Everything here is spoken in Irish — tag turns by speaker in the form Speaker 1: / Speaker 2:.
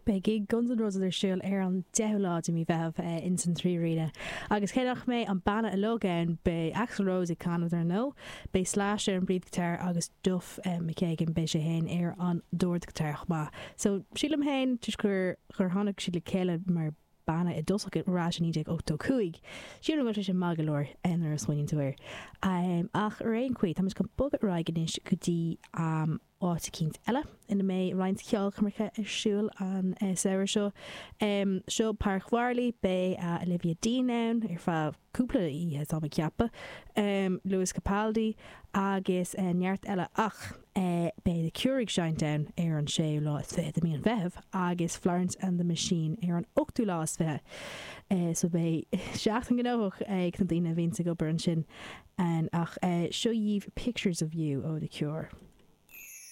Speaker 1: Beidh gig Guns N' Roses ar siúl ar an 10ú lá de mí Mheitheamh ins an 3Arena agus cé nach mbeidh an banna uilig ann, beidh Axl Rose ag canadh dar ndóigh, beidh Slash ar an bpríomhghiotár agus Duff McKagan, beidh sé féin ar an dordghiotár chomh maith. So, sílim féin, toisc gur gur tháinig siad le chéile mar banna i dtosach ar ais i 1985, sílim go bhfuil sé sin maith go leor nuair a smaoiníonn tú air. Ach ar aon chaoi, táimid chun bogadh ar aghaidh anois go dtí. áit eicínt eile ina mbeidh roinnt ceolchoirmeacha ar siúl an samhradh seo. Seo Páirc Mharlaí, beidh Olivia Dean ann ar feadh cúpla oíche táim ag ceapadh, Lewis Capaldi agus neart eile ach beidh The Cure ag seinnt ann ar an séú lá is fiche de mí an Mheithimh agus Florence and the Machine ar an ochtú lá is fiche. So beidh seachtain gnóthach ag na daoine a bhíonns ag obair ansin ach seo dhaoibh Pictures of You ó The Cure.